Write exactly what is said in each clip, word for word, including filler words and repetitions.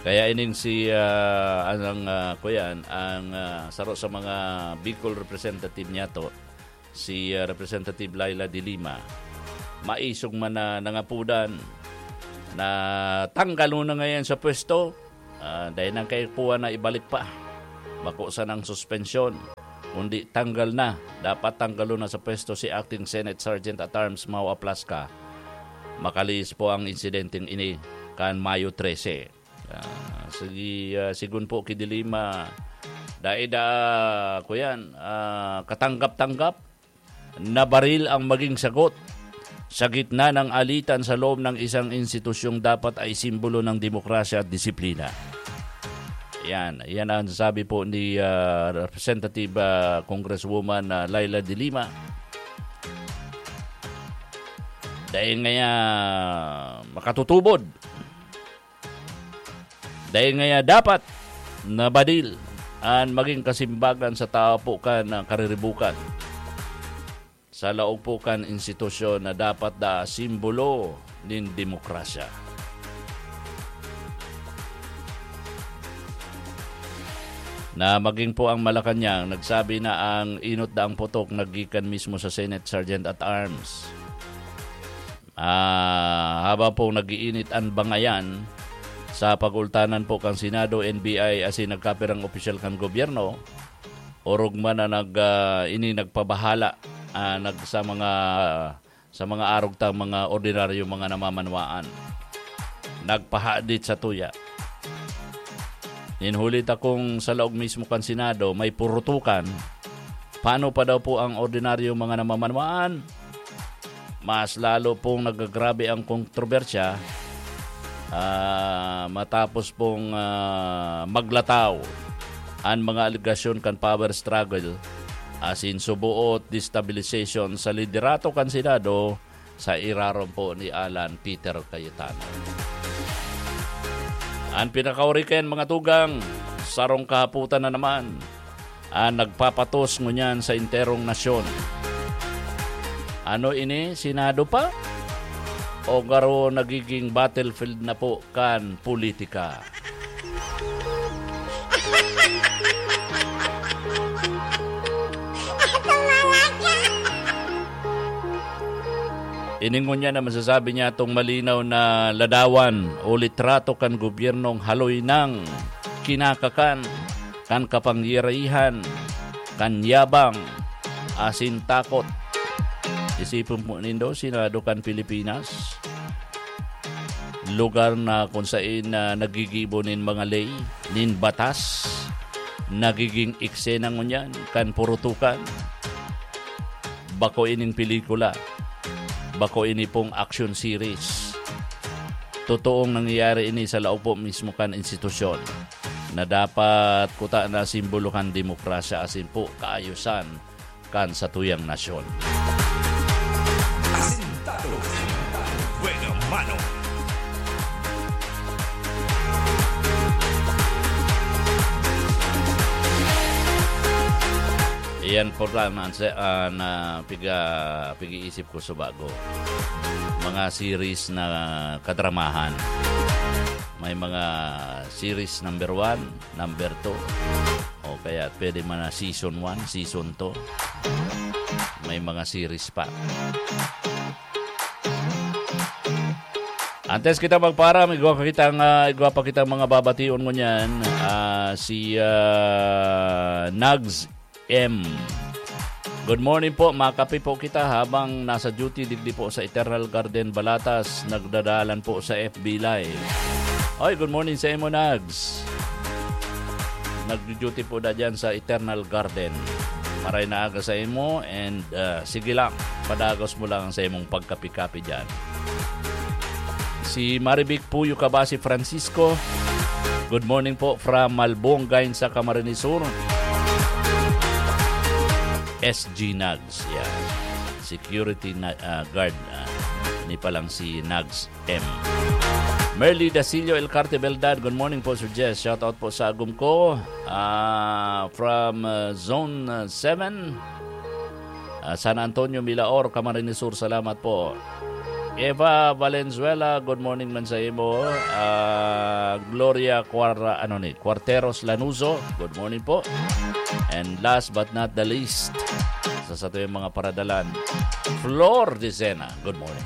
Kaya ining si, ah, ang, ah, kuyan, ang, ah, saro sa mga Bicol representative niya to, si, ah, Representative Leila de Lima, maisog man na nangapudan na tanggalon na ngayon sa pwesto, ah, dahil nang kaipuhan na ibalik pa. Bako sanang suspensyon, kundi tanggal na. Dapat tanggalon na sa pwesto si Acting Senate Sergeant at Arms Mau Aplasca. Makalihis po ang insidenteng ini kan Mayo trese. Ah, sige, ah, sigun po ki de Lima, dai da, kuyan, ah, katanggap-tanggap na baril ang maging sagot sa gitna ng alitan sa loob ng isang institusyong dapat ay simbolo ng demokrasya at disiplina. Yan, yan ang sabi po ni, ah, Representative, ah, Congresswoman, ah, Leila de Lima. Dahil ngaya makatutubod, dahil ngaya dapat na badil an maging kasimbagan sa tawo po kan, ah, kariribukan, sa laog po kan institusyon na dapat da simbolo nin demokrasya. Na maging po ang Malacañang, nagsabi na ang inot daang putok naggikan mismo sa Senate Sergeant at Arms. Ah, habang pong nag-iinit an bangayan sa pag-ultanan po kan Senado, N B I, asin nagkapirang opisyal kan gobyerno, orog man na nag, ah, ini nagpabahala, ah, nag, sa mga, sa mga arog tang mga ordinaryo, mga namamanwaan. Nagpahadit sa tuya. Nin huli ta kung sa laog mismo kan Senado may purutukan, paano pa daw po ang ordinaryo mga namamanwaan? Mas lalo pong nagagrabe ang kontrobersya, ah, matapos pong, ah, maglataw an mga alegasyon kan power struggle, asin suboot destabilization sa liderato kan Senado sa irarom po ni Alan Peter Cayetano. An pinakauriken, mga tugang, sarong kahapotan na naman an nagpapatos ngunyan sa enterong nasyon. Ano ini, Senado pa? O garo nagiging battlefield na po kan politika? Ini ngunyan na masasabi niya itong malinaw na ladawan o litrato kan gobyernong haloy ng kinakakan, kan kapangyarihan, kan yabang, asin takot. Isipon po nindo, Senado kan Pilipinas, lugar na kung sain na nagigibo nin mga ley, nin batas, nagiging eksena ngunyan kan purutukan. Bako ining pelikula, bako ini pong action series. Totoong nangyayari ini sa laog po mismo kan institusyon na dapat kuta na simbolo kan demokrasya asin po kaayusan kan satuyang nasyon. Asintado. Buena mano. Iyan po lang ang se-, ah, na piga-, pig-iisip ko sa bago. Mga series na kadramahan. May mga series number one, number two. O kaya pwede man na season one, season two. May mga series pa. Antes kita magparam, igwa pa kitang, ah, igwa pa kitang mga babation ngunyan. Ah, si, ah, Nags M. Good morning po. Makape po kita habang nasa duty digdi po sa Eternal Garden, Balatas. Nagdadalan po sa F B Live. Oy, good morning sa imo, Nags. Nagdu-duty po na dyan sa Eternal Garden. Maray na aga sa imo and, ah, sige lang, padagos mo lang sa imong pagkapi-kapi dyan. Si Marivic Puyo Kabasi Francisco, good morning po from Malbong, Gainsa, Camarines Sur. S G Nags, yeah. Security na, ah, guard, ah, ni palang si Nags M. Merly Dasillo, El Carte Beldad, good morning po, Sir Jess. Shout out po sa agom ko, ah, from, ah, Zone, ah, seven, ah, San Antonio, Milaor, Camarines Sur. Salamat po. Eva Valenzuela, good morning man sa imo. Ah, Gloria Cuar-, ano ni, Cuarteros Lanuzo, good morning po. And last but not the least, sa satuyang mga paradalan, Flor Decena, good morning.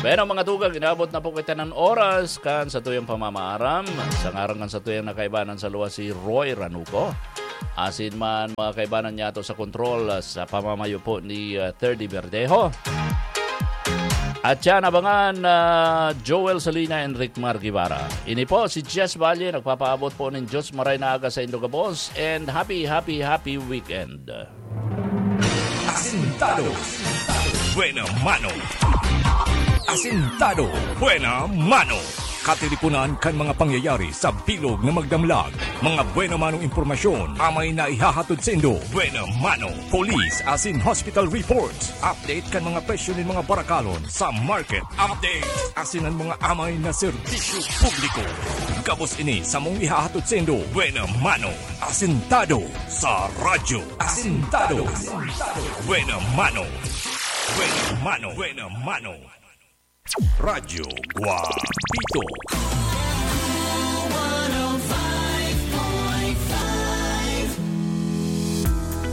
Bueno, mga tugang, inabot na po kita ng oras kan satuyang pamamaaram. Sa ngaran kan satuyang nakaibanan sa luwas, si Roy Ranuco. Asin man, mga kaibanan niya to sa kontrol, ah, sa pamamayo po ni, ah, Thirdy Verdejo. At siya nabangan, ah, Joel Salina and Rick Mar Guevara. Ini po si Jess Valle, nagpapaabot po ng Diyos maray na aga sa indo gabos, and happy, happy, happy weekend. Asintado. Buena mano. Asintado. Buena mano. Katiripunan kan mga pangyayari sa bilog na magdamlag. Mga buena mano impormasyon, amay na ihahatod saindo. Buena mano. Police asin hospital reports. Update kan mga presyo nin mga barakalon sa market. Update asin an mga amay na serbisyo publiko. Gabos ini samong ihahatod saindo. Buena mano. Asintado sa radyo. Asintado. Buena mano. Buena mano. Buena mano. Radyo Guapito.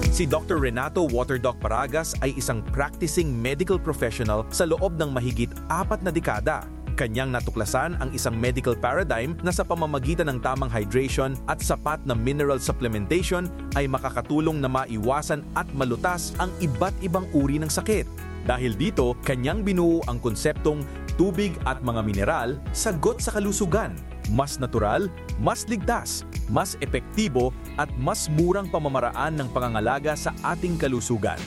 Si Doctor Renato Waterdoc Paragas ay isang practicing medical professional sa loob ng mahigit apat na dekada. Kanyang natuklasan ang isang medical paradigm na sa pamamagitan ng tamang hydration at sapat na mineral supplementation ay makakatulong na maiwasan at malutas ang iba't ibang uri ng sakit. Dahil dito, kanyang binuo ang konseptong tubig at mga mineral, sagot sa kalusugan. Mas natural, mas ligtas, mas epektibo, at mas murang pamamaraan ng pangangalaga sa ating kalusugan.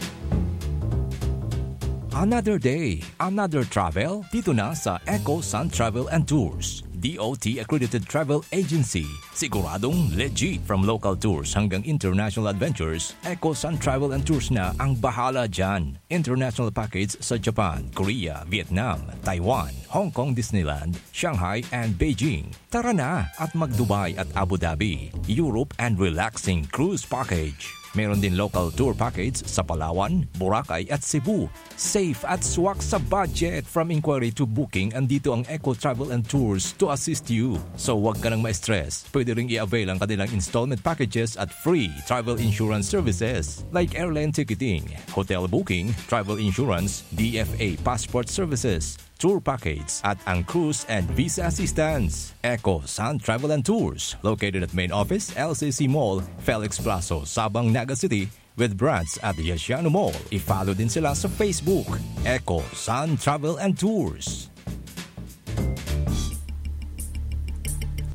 Another day, another travel? Dito na sa Eco Sun Travel and Tours, D O T accredited travel agency. Siguradong legit. From local tours hanggang international adventures, Eco Sun Travel and Tours na ang bahala dyan. International package sa Japan, Korea, Vietnam, Taiwan, Hong Kong Disneyland, Shanghai, and Beijing. Tara na at mag-Dubai at Abu Dhabi, Europe, and relaxing cruise package. Meron din local tour package sa Palawan, Boracay, at Cebu. Safe at swak sa budget. From inquiry to booking, andito ang Eco Travel and Tours to assist you. So, wag ka nang ma-stress. Pwede ring i-avail ang kanilang installment packages at free travel insurance services like airline ticketing, hotel booking, travel insurance, D F A passport services, tour package, at ang cruise and visa assistance. Eco Sun Travel and Tours, located at main office, L C C Mall, Felix Plazo, Sabang, Naga City, with branch at Yasiano Mall. I-follow din sila sa Facebook, Eco Sun Travel and Tours.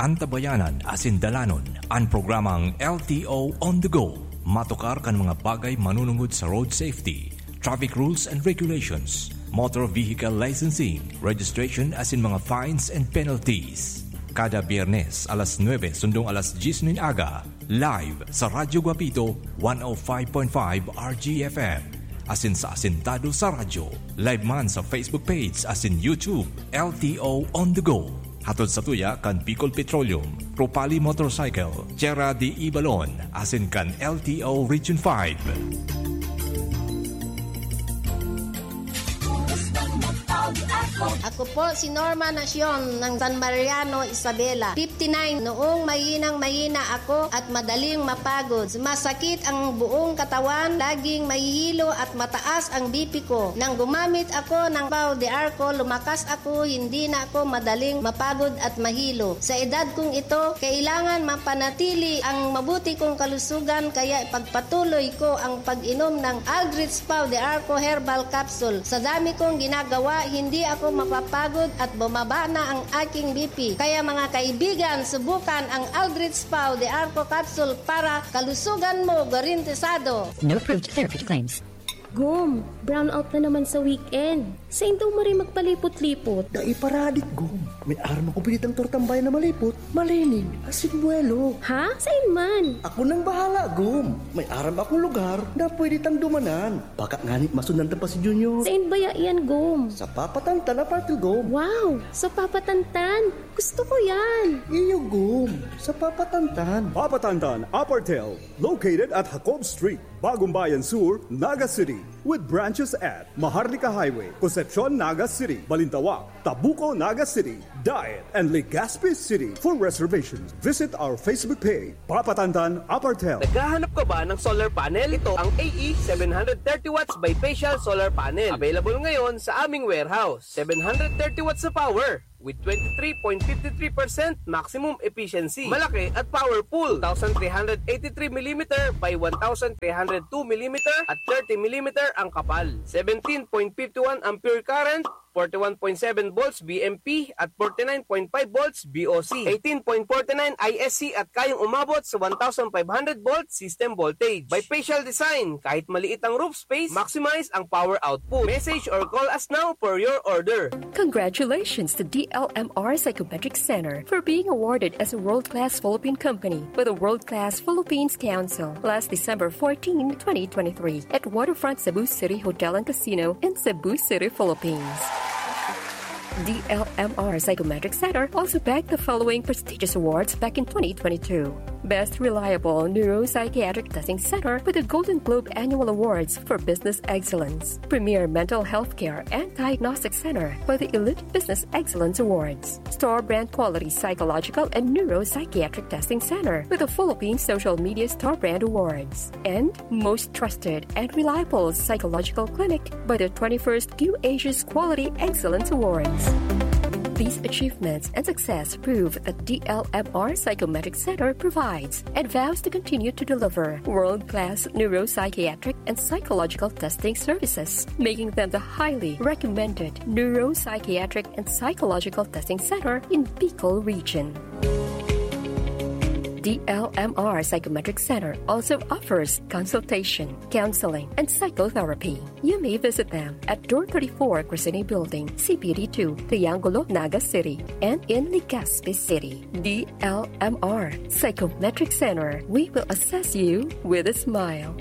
Antabayanan asin dalanon an programang L T O On The Go. Matukar kan mga bagay manunungod sa road safety, traffic rules and regulations, motor vehicle licensing, registration asin mga fines and penalties. Kada Biyernes, alas nuebe sundong alas dyes nin aga, live sa Radyo Guapito, one oh five point five R G F M. Asin sa Asintado sa Radyo, live man sa Facebook page asin YouTube, L T O On The Go. Hatod sa tuya kan Bicol Petroleum, Propali Motorcycle, Tierra de Ibalon, asin kan L T O Region five. Ako po si Norma Nacion ng San Mariano, Isabela. Fifty-nine. Noong mahinang mahina ako at madaling mapagod, masakit ang buong katawan, laging mahihilo at mataas ang B P ko. Nang gumamit ako ng Pau de Arco, lumakas ako, hindi na ako madaling mapagod at mahilo. Sa edad kong ito, kailangan mapanatili ang mabuti kong kalusugan, kaya ipagpatuloy ko ang pag-inom ng Aldrich Pau de Arco Herbal Capsule. Sa dami kong ginagawa, hindi ako mapapagod at bumaba na ang aking B P. Kaya, mga kaibigan, subukan ang Aldrich Pau de Arco Capsule para kalusugan mo garantisado. No approved therapeutic claims. Gom, brownout na naman sa weekend. Sain daw maray magpalipot-lipot? Dai paradik, Gom. May aram akong pinitang tortang bayan na malipot, malinig, asin buwelo. Ha? Sain man? Ako nang bahala, Gom. May aram akong lugar na pwede tang dumanan. Baka ngani masundan ta pa si Junior. Sain baya yan, Gom? Sa Papa Tantan Apartel, Gom. Wow! Sa Papa Tantan! Gusto ko yan! Iyo, Gom. Sa Papa Tantan. Papa Tantan Apartel, located at Jacob Street, Bagong Bayan Sur, Naga City, with branch Just at Maharlika Highway, Concepcion, Naga City, Balintawak, Tabuco, Naga City, Daet, and Legazpi City. For reservations, visit our Facebook page, Papa Tantan Apartel. Naghahanap ka ba ng solar panel? Ito ang A E seven hundred thirty watts bifacial solar panel. Available ngayon sa aming warehouse. Seven hundred thirty watts na power with twenty-three point five three percent maximum efficiency. Malaki at powerful. Two thousand three hundred eighty-three millimeter by one thousand three hundred two millimeter at thirty millimeter ang kapal. Seventeen point five one ampere current, forty-one point seven volts V M P at forty-nine point five volts V O C, eighteen point forty-nine I S C at kayang umabot sa one thousand five hundred volt system voltage. Bifacial design, kahit maliit ang roof space, maximize ang power output. Message or call us now for your order. Congratulations to D L M R Psychometric Center for being awarded as a world-class Philippine company by the World Class Philippines Council last December fourteen, twenty twenty-three, at Waterfront Cebu City Hotel and Casino in Cebu City, Philippines. D L M R Psychometric Center also bagged the following prestigious awards back in twenty twenty-two: Best Reliable Neuropsychiatric Testing Center with the Golden Globe Annual Awards for Business Excellence, Premier Mental Health Care and Diagnostic Center for the Elite Business Excellence Awards, Store Brand Quality Psychological and Neuropsychiatric Testing Center with the Philippine Social Media Store Brand Awards, and Most Trusted and Reliable Psychological Clinic by the twenty-first Q Asia's Quality Excellence Awards. These achievements and success prove that D L M R Psychometric Center provides and vows to continue to deliver world-class neuropsychiatric and psychological testing services, making them the highly recommended neuropsychiatric and psychological testing center in Bicol Region. D L M R Psychometric Center also offers consultation, counseling, and psychotherapy. You may visit them at Door thirty-four, Crescene Building, C P D two, Triangulo, Naga City, and in Legazpi City. D L M R Psychometric Center, we will assess you with a smile.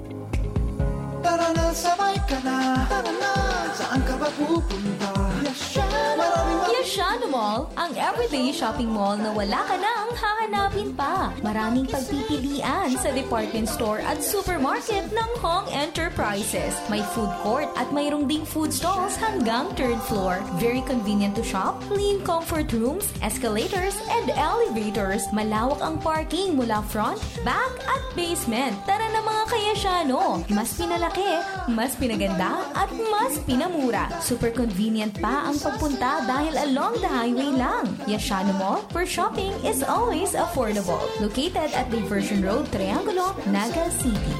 Tara na, sabay ka na. Tara na, saan ka ba pupunta? Yashano! Maraming Yashano Mall, ang everyday shopping mall na wala ka nang hahanapin pa. Maraming pagpipilian sa department store at supermarket ng Hong Enterprises. May food court at mayroong ding food stalls hanggang third floor. Very convenient to shop, clean comfort rooms, escalators, and elevators. Malawak ang parking mula front, back, at basement. Tara na, mga ka-Yashano! Mas pinalaki, mas pinaganda, at mas pinamura. Super convenient pa ang pagpunta dahil along the highway lang. Yashano Mall, where shopping is always affordable. Located at Diversion Road, Triangulo, Naga City.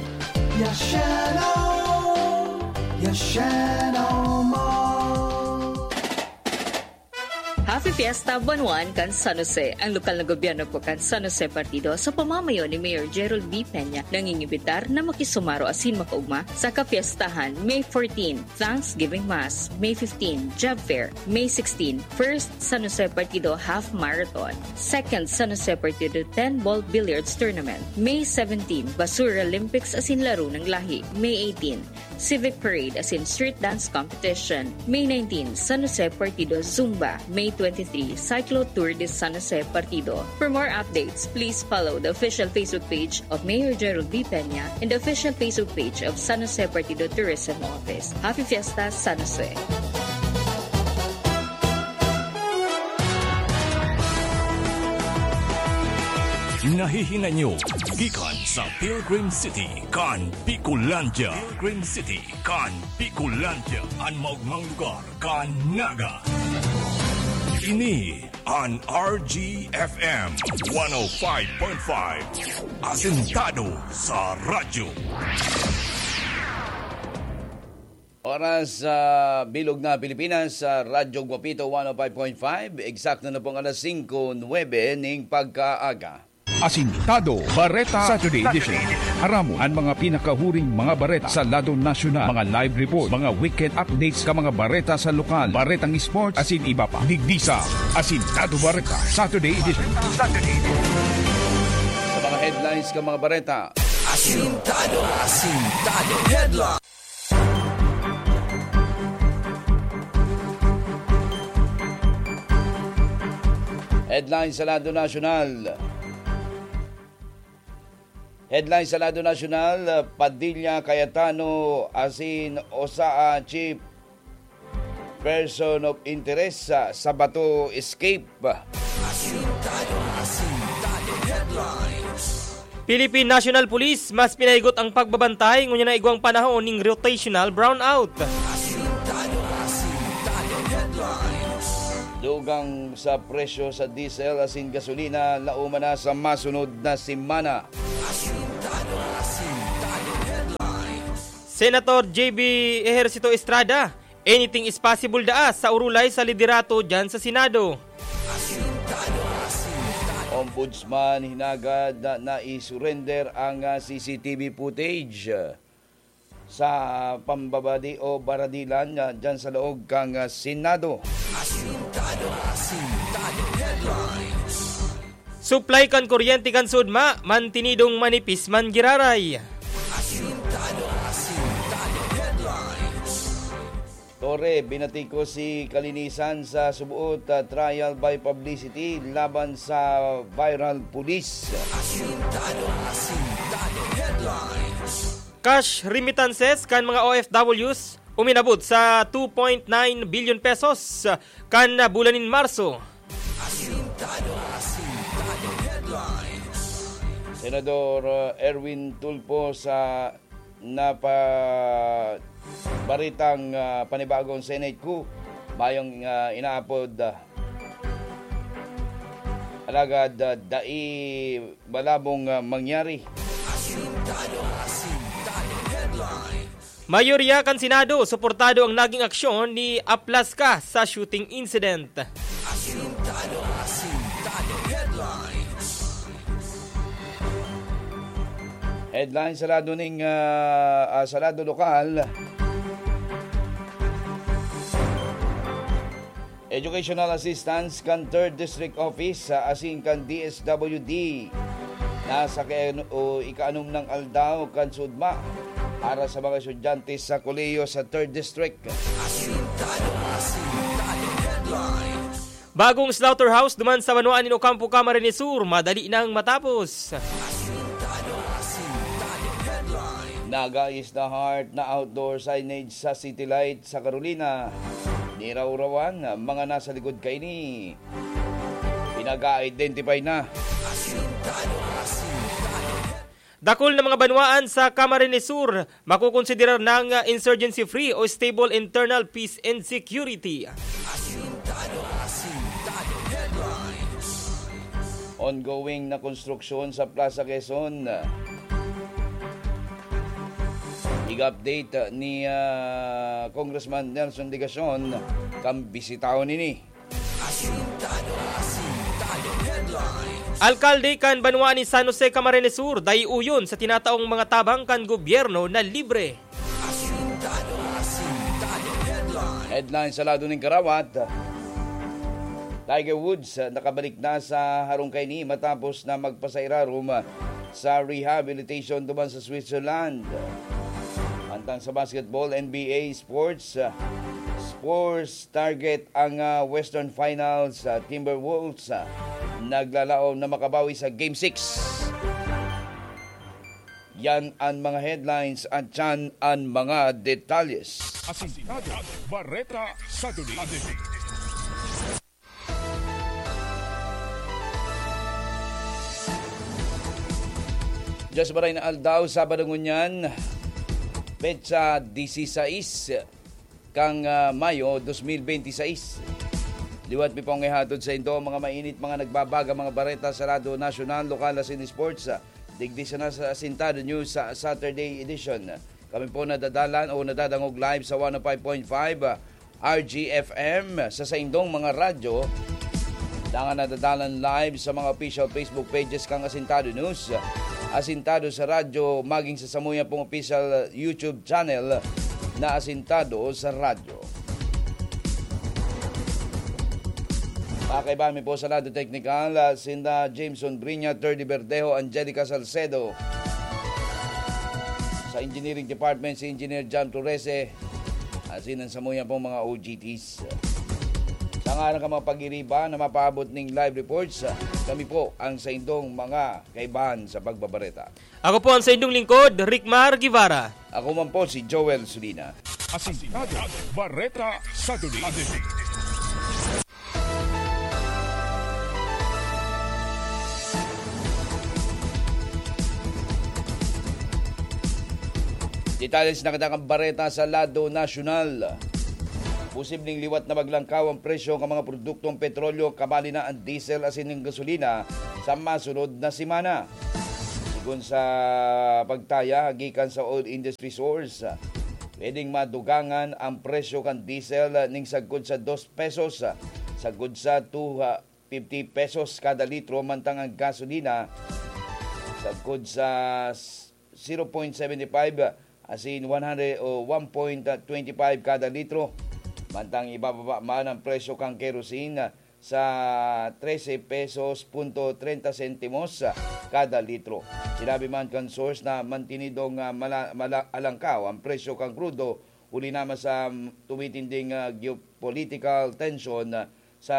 Yashano! Yashano Mall! Happy Fiesta, Bunuan kan San Jose! Ang lokal na gobyerno po kan San Jose Partido sa pamamayo ni Mayor Gerald B. Peña nangingimbitar na makisumaro asin makaugma sa kapiestahan May fourteen, Thanksgiving Mass, May fifteen, Job Fair, May sixteen, First San Jose Partido Half Marathon, Second San Jose Partido ten Ball Billiards Tournament, May seventeen, Basura Olympics asin Laro ng Lahi, May eighteen, Civic Parade asin Street Dance Competition, May nineteen, San Jose Partido Zumba, May twenty-three, Cyclo Tour de San Jose Partido. For more updates, please follow the official Facebook page of Mayor Gerald B. Peña and the official Facebook page of San Jose Partido Tourism Office. Happy Fiesta, San Jose! Nahihinay nyo gikan sa Pilgrim City kan Bicolandia. Pilgrim City kan Bicolandia, an maogmang lugar kan Naga. Ini an R G F M one oh five point five, asentado sa radyo. Oras sa bilog na Pilipinas, sa Radyo Guapito one oh five point five, eksakto na pong alas singko nuebe ning pagkaaga. Asintado Bareta Saturday Edition. Aramon an mga pinakahuring mga bareta sa lado nasyonal, mga live report, mga weekend updates ka mga bareta sa lokal, baretang sports, asin iba pa. Digdi sa Asintado Bareta Saturday Edition. Sa mga headlines ka mga bareta. Asintado, asintado, headline. Headline sa lado nasyonal. Headline sa lado nasyonal, Padilla, Cayetano asin usa a chief person of interest sa, sa Bato escape. Asintado, Asintado Headlines. Philippine National Police mas pinahigot ang pagbabantay ngunyan na igwang panahon ning rotational brownout. Asintado, Asintado Headlines. Dugang sa presyo sa diesel asin gasolina, lauma na sa masunod na semana. Asintado, Asintado Headlines. Senator J B Ejercito Estrada, anything is possible daa sa urulay sa liderato dyan sa Senado. Asintado, Asintado. Ombudsman hinagad na nai-surrender ang, ah, C C T V footage, ah, sa pambabadi o baradilan, ah, dyan sa laog kan, ah, Senado. Asintado, Asintado Headlines. Supply kan kuryente kan Sudma, mantinidong manipis man giraray. Asintado, Asintado Headlines. Torre, binatikos si Kalinisan sa suboot, ah, trial by publicity laban sa viral pulis. Asintado, Asintado Headlines. Cash remittances kan mga O F Ws uminabot sa two point nine billion pesos kan bulan nin Marso. Asintado, Asintado Headlines. Senador, uh, Erwin Tulfo sa napa-, baritang, uh, panibagong Senate coup, mayong, uh, inaapod, uh, alagad, uh, dai malabong, uh, mangyari. Asintado, Asintado Headlines. Mayorya kan Senado suportado ang naging aksyon ni Aplasca sa shooting incident. Asintado, Asintado Headlines. Headline sa lado ning, ah, ah, sa lado lokal. Educational assistance kan Third District Office, ah, asin kan D S W D. Nasa kay-, o ikaanom nang aldaw kan sudma para sa mga estudyante sa kolehiyo sa Third District. Asintado, Asintado Headlines. Bagong slaughterhouse duman sa banwaan nin Ocampo, Camarines Sur, madali nang matapos. Asintado, Asintado Headlines. Nag-aayos na heart na outdoor signage sa City Light sa Carolina. Nirawrawan ang mga nasa likod kaini. Pinag-a-identify na. Asintado, Asintado. Dakul na mga banwaan sa Camarines Sur makokonsiderar nang insurgency-free o stable internal peace and security. Asintado, Asintado Headlines. Ongoing na konstruksyon sa Plaza Quezon. Ig-update ni, ah, Congressman Nelson Legacion kan bisitahon ini. Asintado, Asintado Headlines. Alkalde kan banwaan ni San Jose, Camarines Sur, dai uyon sa tinataong mga tabang kan gobyerno na libre. Asintado, Asintado Headlines. Headlines sa lado ning karawat. Tiger Woods, ah, nakabalik na sa harong kaini matapos na magpasairarom, ah, sa rehabilitation duman sa Switzerland. Mantang sa basketball, N B A sports, ah, Spurs target ang, ah, Western Finals, ah, Timberwolves, ah, naglalaom na makabawi sa Game six. Yan ang mga headlines at yan ang mga detalles. Asintado, Bareta sa Duli. Diyas maray na aldaw, Sabado ngunyan, petsa disisais kan, ah, Mayo dos mil benti sais. Liwat mi pong ihatod sa indo mga mainit, mga nagbabaga, mga bareta sa lado nasyonal, lokal asin sports, ah, digdi sana sa Asintado News sa Saturday edition. Kami po nadadalan o nadadangog live sa one oh five point five, ah, R G F M sa saindong mga radyo. Dangan nadadalan live sa mga official Facebook pages kan Asintado News, Asintado sa Radyo, maging sa samuya pong official YouTube channel na Asintado sa Radyo. Pakaiba mi po sa lado teknikal, ah, sinda Jameson Brinya, Thirdy Verdejo, Angelica Salcedo. Sa Engineering Department, si Engineer John Torrese, asin ang samuya pong mga O G Ts. Sa Ang arang ka mga pag-iriba na mapaabot ning live reports, kami po ang saindong mga kaibahan sa pagbabareta. Ako po ang saindong lingkod, Rickmar Guevara. Ako man po si Joel Sulina. Asintado, Bareta sa Duli. Detalye sa nakadakang bareta sa lado nasyonal. Posibleng liwat na maglangkaw ang presyo kan mga produktong petrolyo, kabali na ang diesel asin ang gasolina sa masunod na semana. Sigon sa pagtaya gikan sa oil industry source, pwedeng madugangan ang presyo kan diesel ning sagkod sa dos pesos, sagkod sa two fifty pesos kada litro, mantang ang gasolina sagkod sa zero point seven five asin one hundred o one point twenty five kada litro. Mantang ibababa man ang presyo kan kerosene sa trese pesos punto trenta sentimos kada litro. Sinabi man kan source na mantinidong, ah, mala-, mala-, alangkaw ang presyo kan krudo huli naman sa, mm, tumitinding, ah, geopolitical tension, ah, sa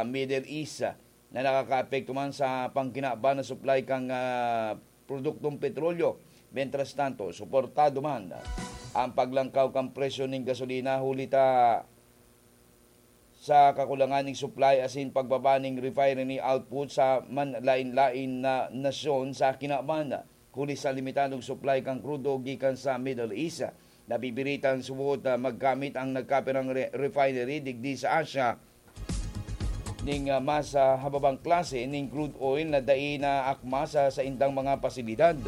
Middle East, ah, na nakakaapekto man sa pangkinaban na supply kan, ah, produktong petrolyo. Mientras tanto, suportado man ang paglangkaw kan presyo ning gasolina huli ta sa kakulangan ning supply asin pagbaba ning refinery output sa manlain-lain na nasyon sa kinaban, huli sa limitadong supply kan krudo gikan sa Middle East. Nabibirita ang suot na maggamit ang nagkapirang re-, refinery digdi sa Asia ning, ah, mas, ah, hababang klase ning crude oil na dai na akma sa saindang mga pasilidad.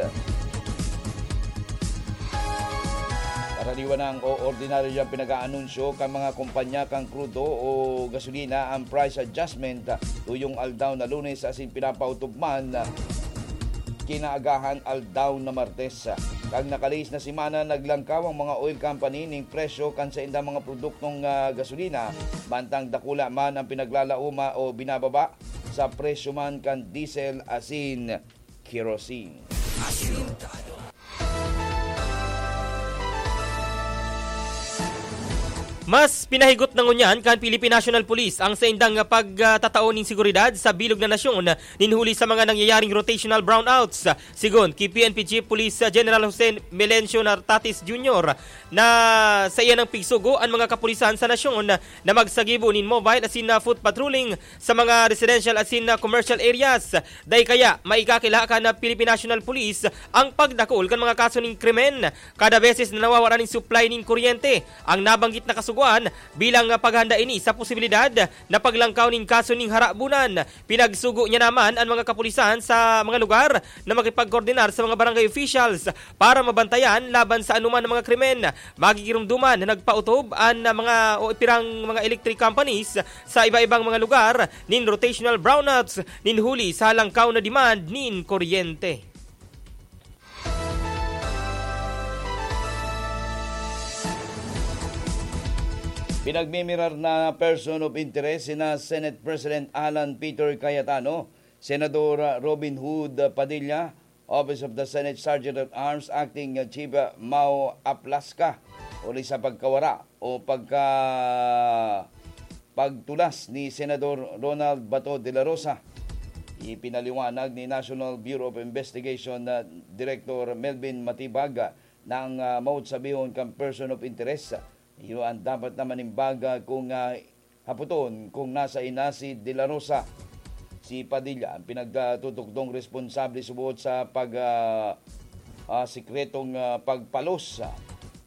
Karaniwan ang o ordinaryo diyang pinag-aanunsyo kan mga kumpanya kan krudo o gasolina ang price adjustment, tuyong aldaw na Lunes asin pinapautob man kinaagahan aldaw na Martes. Kan nakalihis na semana, naglangkaw ang mga oil company ning presyo kan saindang mga produktong, ah, gasolina, mantang dakula man ang pinaglalaoma o binababa sa presyo man kan diesel asin kerosene. Mas pinahigot na ngunyan kan Philippine National Police ang saindang pagtatao nin seguridad sa bilog na nasyon nin huli sa mga nangyayaring rotational brownouts. Sigon ki P N P Chief Police General Jose Melencio Nartatis Junior na sa iyan ang pigsugo an mga kapulisan sa nasyon na magsagibo nin mobile asin na foot patrolling sa mga residential asin na commercial areas. Dai kaya maikakilala kan Philippine National Police ang pagdakul kan mga kaso nin krimen kada beses na nawawara nin supply nin kuryente ang nabanggit na kasugoan bilang paghanda ini sa posibilidad na paglangkaw nin kaso nin harabunan. Pinagsugo niya naman an mga kapulisan sa mga lugar na makipagkoordinar sa mga barangay officials para mabantayan laban sa anoman na mga krimen. Magigirumduman na nagpautob an mga o pirang mga electric companies sa iba-ibang mga lugar nin rotational brownouts nin huli sa halangkaw na demand nin kuryente. Pinagmimirar na person of interest sina Senate President Alan Peter Cayetano, Senador Robin Hood Padilla, Office of the Senate Sergeant at Arms Acting Chief Mao Aplasca, huli sa pagkawara o pagka pagtulas ni Senador Ronald Bato de la Rosa. Ipinaliwanag ni National Bureau of Investigation na Director Melvin Matibag na ang, ah, maot sabihon kan person of interest, iyo ang dapat na manimbag, ah, kung, ah, hapoton kung nasa ina si De La Rosa. Si Padilla ang pinagtutukdong responsable subot sa pag, ah, ah, sikretong, ah, pagpalos, ah,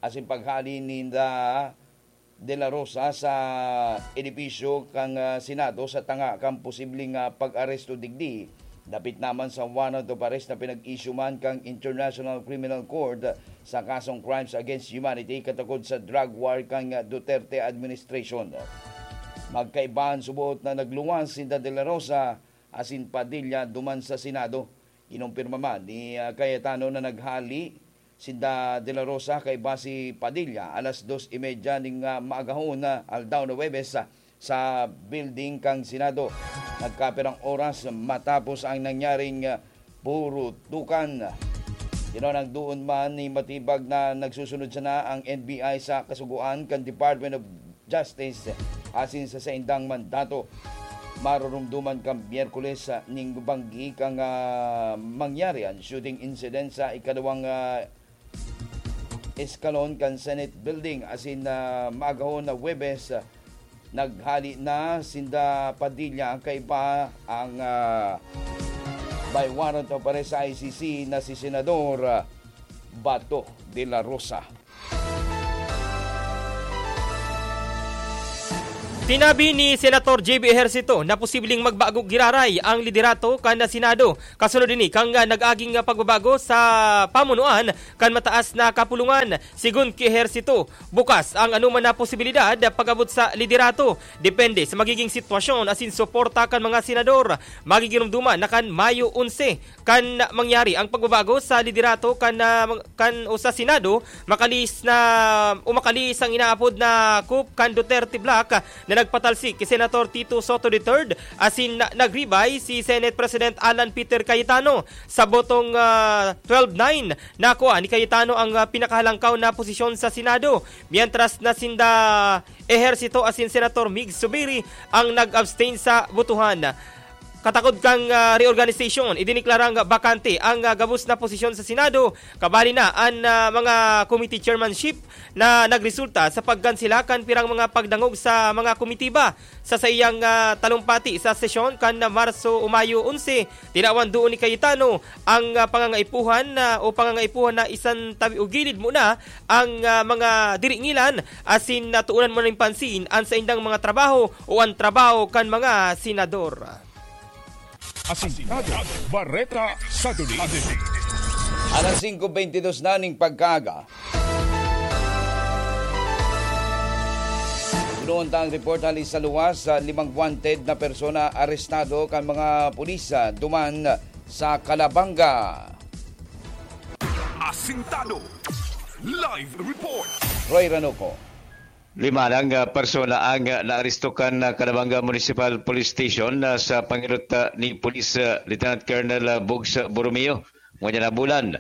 asin paghali ni Da De La Rosa sa edipisyo kan, ah, Senado sa tanga kan posibleng, ah, pag-aresto digdi, dapit naman sa warrant of arrest na pinag-issue man kan International Criminal Court sa kasong crimes against humanity katakod sa drug war kan, ah, Duterte administration. Magkaibahan subot na nagluwas si De La Rosa asin Padilla duman sa Senado. Kinumpirma man ni, ah, Cayetano na naghali sinda De La Rosa kaiba si Padilla alas dos y media ning, ah, maagahon na aldaw na Huwebes, ah, sa building kan Senado. Nagkapirang oras matapos ang nangyaring, ah, purutukan. Tinonang doon man ni Matibag na nagsusunod sana ang N B I sa kasugoan kan Department of Justice asin sa saindang mandato. Marurumduman kan Miyerkules, ah, nin banggi kan, ah, mangyari an shooting incident sa ikaduwang, ah, eskalon kan Senate Building asin, ah, maagahon na Huwebes, ah, naghali na sinda Padilla ang kaiba ang, ah, by warrant of arrest sa I C C na si Senador, ah, Bato de la Rosa. Sinabi ni Senator J B Ejercito na posibleng magbago giraray ang liderato kan Senado kasunod ini kan nag-aging pagbabago sa pamunuan kan mataas na kapulungan. Sigon ki Ejercito, bukas ang anoman na posibilidad pag-abot sa liderato, depende sa magiging sitwasyon asin suporta kan mga senador. Magigiromdoman na kan Mayo onse kan mangyari ang pagbabago sa liderato kan, ah, kan o sa Senado, makalis na o makalis ang inaapod na coup kan Duterte Black na nagpatalsik ki Senator Tito Soto the third, asin na, nagribay si Senate President Alan Peter Cayetano. Sa botong, ah, twelve nine, nakuha ni Cayetano ang, ah, pinakahalangkaw na posisyon sa Senado, mientras na sinda Ejercito asin Senator Mig Zubiri ang nag-abstain sa botohan. Katakod kan, ah, reorganization, idineklarang bakante ang, ah, gabos na posisyon sa Senado, kabali na an, ah, mga committee chairmanship na nagresulta sa pagkansela kan pirang mga pagdangog sa mga komitiba. Sa saiyang, ah, talumpati sa sesyon kan Marso o Mayo onse, tinawan duon ni Cayetano ang, ah, pangangaipuhan na, o pangangaipuhan na isan tabi o gilid muna ang, ah, mga diringilan asin natuunan mo nin pansin an saindang mga trabaho o an trabaho kan mga senador. Asintado, Bareta sa Duli. Alas singko bentidus na ning pagkaaga. Duon ta ang report hali sa luwas, sa limang wanted na persona arestado kan mga pulis, ah, duman sa Calabanga. Asintado. Live report. Roy Ranoco. Lima lang, ah, persona ang, ah, naaresto kan, ah, Calabanga Municipal Police Station, ah, sa pangilot, ah, ni Police, ah, Lieutenant Colonel, ah, Bugs, ah, Borromeo. Ngunyan na bulan,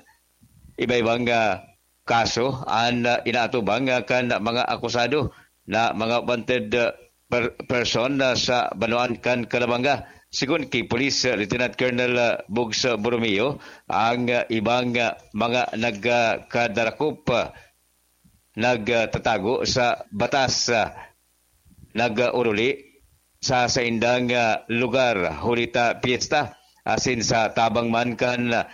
iba-ibang, ah, kaso an, ah, inaatubang, ah, kan mga akusado na mga wanted, ah, per-, person, ah, sa banwaan kan Calabanga. Sigon ki Police, ah, Lieutenant Colonel, ah, Bugs, ah, Borromeo, ang, ah, ibang, ah, mga nagkadarakop, ah, nagtatago sa batas, ah, nag-oruli sa saindang, ah, lugar huli ta pyesta, asin sa tabang man kan, ah,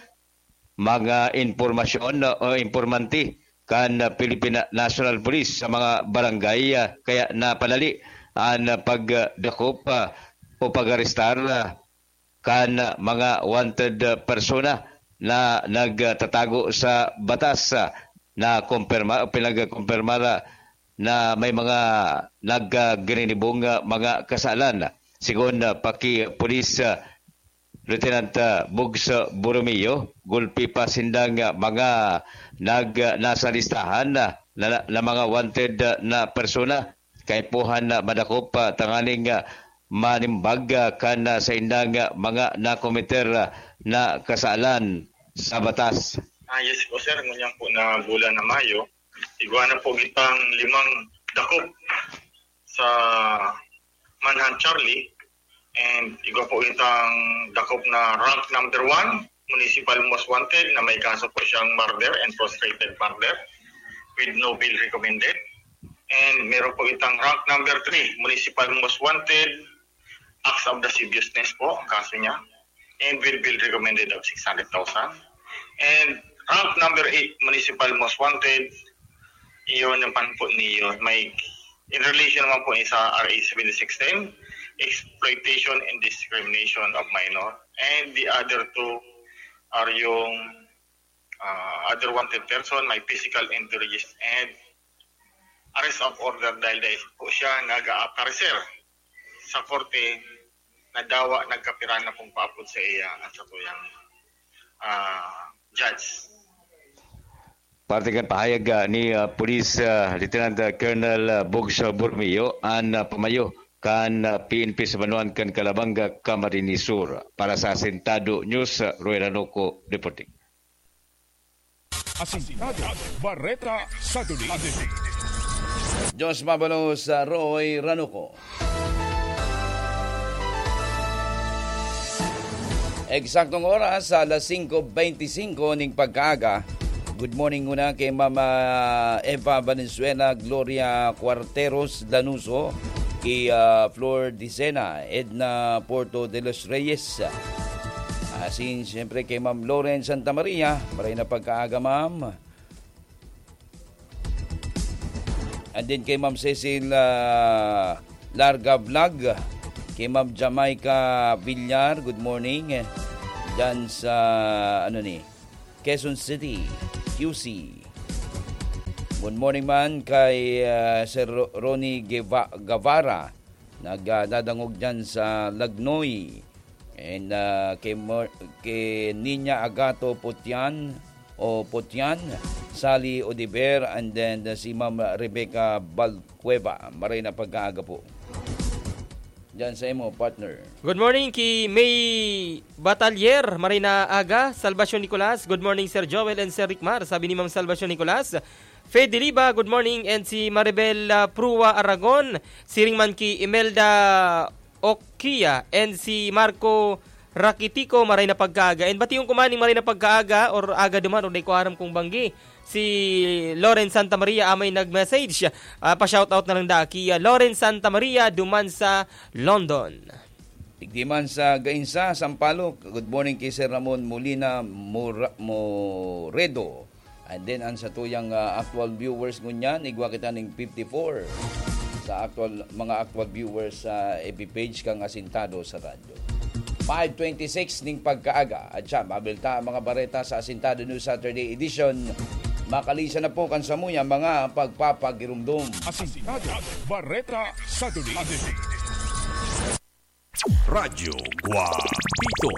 mga impormasyon o impormante kan, ah, Philippine National Police sa mga barangay, ah, kaya napadali an, ah, pagdakop, ah, o pag-arestar, ah, kan mga wanted, ah, persona na nagtatago sa batas, ah, na kumpirma o pinagkumpirmar, ah, na may mga naggininibong, ah, mga kasalan. Sigon, ah, pa ki Police, ah, Lieutenant, ah, Bugs, ah, Borromeo, gulpi pa sindang, ah, mga nag-, ah, nasa listahan, ah, na, na mga wanted, ah, na persona. Kaipuhan na madakop, ah, tanganing, ah, manimbag, ah, kan, ah, saindang, ah, mga nakometer, ah, na kasalan sa batas. Ah, yes po, sir. Ngunyan po na bulan na Mayo, igwa na po kitang limang dakop sa Manhunt Charlie. And igwa po itang dakop na rank number one, municipal most wanted, na may kaso po siyang murder and frustrated murder with no bail recommended. And meron po itang rank number three, municipal most wanted, acts of lasciviousness po ang kaso niya. And with bail recommended of six hundred thousand. And rank number eight, municipal most wanted, iyon naman po niyo. May, in relation naman po sa R A seventy-six ten, exploitation and discrimination of minor. And the other two are yung, ah, other wanted person, may physical injuries and arrest of order dahil, dahil po siya nag-aaparecer sa korte na dawa nagkapira na pong paapod sa iya ang satuyang, ah, judge. Parte kan pahayag, ah, ni, ah, Police, ah, Lieutenant, ah, Colonel, ah, Bugs, ah, Borromeo, an, ah, pamayo kan, ah, P N P sa banwaan kan Calabanga, Camarines Sur. Para sa Asintado News, ah, Roy Ranoco reporting. Asintado, Bareta sa Duli. Diyos mabalos sa Roy Ranuco. Eksaktong oras, alas singko beinti singko ning pagkaaga. Good morning muna kay Mama Eva Valenzuela, Gloria Cuarteros Lanuso, kay, ah, Flor Dicena, Edna Porto de los Reyes. Asin, siyempre, kay Ma'am Loren Santa Maria, maray na pagkaaga, Ma'am. And then kay Ma'am Cecil, ah, Larga Vlog, kay Ma'am Jamaica Villar, good morning. Diyan sa, ano ni, Quezon City, Q C. Good morning man kay, ah, Sir Ro-, Ronnie Gueva-, Guevara, nagdadangog diyan sa Lagnoy. And, ah, kay Mo-, kay Niña Agato Putian o Putian, Sally Odiver, and then, uh, si Ma'am Rebecca Balcueva. Maray na pagkaaga po. Diyan sa imo, partner. Good morning ki May Batalier, maray na aga, Salvacion Nicolas. Good morning, Sir Joel and Sir Rickmar, sabi ni Ma'am Salvacion Nicolas. Fede Liba, good morning, and si Maribel, ah, Prua Aragon, siring man ki Imelda Okia, and si Marco Rakitico, maray na pagkaaga. And batiyon ko man ning maray na pagkaaga or aga duman or di ko aram kung banggi. Si Loren Santa Maria amay nag-message. Ah, pa-shoutout na lang da ki, ah, Loren Santa Maria duman sa London. Digdi man sa Gainsa, Sampaloc. Good morning kay Sir Ramon Molina Mora-, Moredo. And then, ang satuyang, ah, actual viewers ngunyan, igwa kita ning fifty-four sa actual, mga actual viewers sa F B page kang Asintado sa Radyo. Five twenty-six ning pagkaaga. At siya, mabilta ang mga bareta sa Asintado News Saturday Edition. Makalisa na po kan samuya mga pagpapagirumdom. Asintado Bareta Saturday. Radyo Guapito.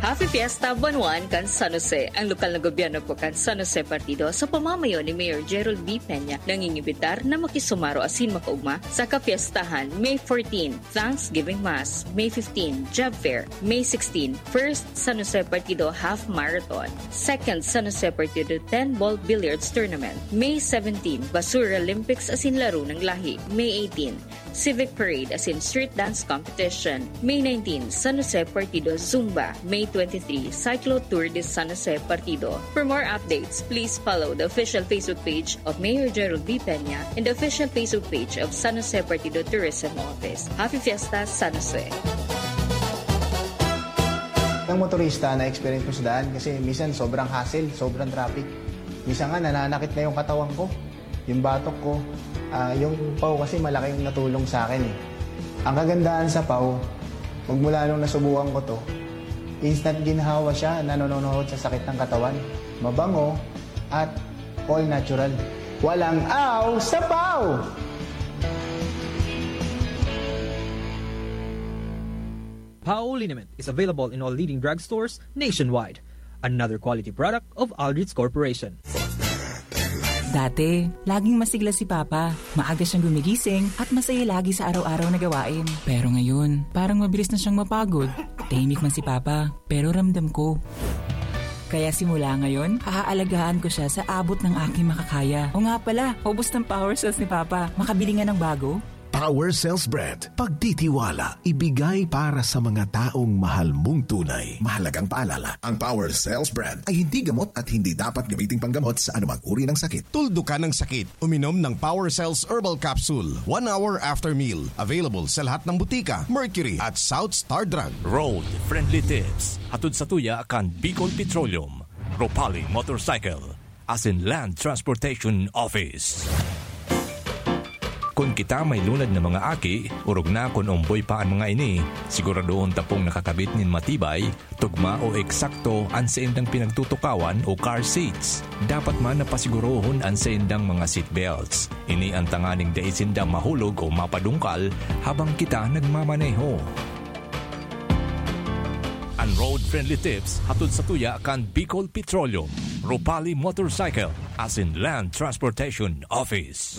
Happy Fiesta, Buwan One kan San Jose. Ang lokal na gobyerno po kan San Jose Partido sa pamamayo ni Mayor Gerald B. Peña nangingimbitar na makisumaro asin makaugma sa kapiestahan May fourteen, Thanksgiving Mass, May fifteen, Job Fair, May sixteen, First San Jose Partido Half Marathon, Second San Jose Partido ten Ball Billiards Tournament, May seventeen, Basura Olympics asin Laro ng Lahi, May eighteen, Civic Parade asin Street Dance Competition, May nineteen, San Jose Partido Zumba, May twenty-three, Cyclo Tour de San Jose Partido. For more updates, please follow the official Facebook page of Mayor Gerald B. Peña and the official Facebook page of San Jose Partido Tourism Office. Happy Fiesta, San Jose! Ang motorista na experience ko sa daan kasi minsan sobrang hassle, sobrang traffic. Minsan nga nananakit na yung katawan ko, yung batok ko. Ah, yung pau kasi malaki yung natulong sa akin eh. Ang kagandahan sa pau, magmula nung nasubukan ko to, instant ginhawa siya, nanononohod sa sakit ng katawan. Mabango at all natural. Walang aw sa pau! Pau liniment is available in all leading drugstores nationwide. Another quality product of Aldrich Corporation. Dati, laging masigla si Papa. Maaga siyang gumigising at masaya lagi sa araw-araw na gawain. Pero ngayon, parang mabilis na siyang mapagod. Tahimik man si Papa, pero ramdam ko. Kaya simula ngayon, aaalagaan ko siya sa abot ng aking makakaya. O nga pala, ubos ng power cells ni Papa. Makabili nga ng bago? Power Cells Brand. Pagtitiwala, ibigay para sa mga taong mahal mong tunay. Mahalagang paalala, ang Power Cells Brand ay hindi gamot at hindi dapat gamiting panggamot sa anumang uri ng sakit. Tuldukan ang sakit. Uminom ng Power Cells Herbal Capsule one hour after meal. Available sa lahat ng butika, Mercury at South Star Drug. Road Friendly Tips. Hatod sa tuya kan Bicol Petroleum, Ropali Motorcycle, asin Land Transportation Office. Kun kita may lunad na mga aki, orog na kun omboy pa an mga ini, siguradohon ta pong nakakabit nin matibay, tugma o eksakto an saindang pinagtutukawan o car seats. Dapat man na pasigurohon an saindang mga seat belts. Ini an tanganing dai sinda mahulog o mapadungkal habang kita nagmamaneho. An Road Friendly Tips hatod sa tuya kan Bicol Petroleum, Ropali Motorcycle, asin Land Transportation Office.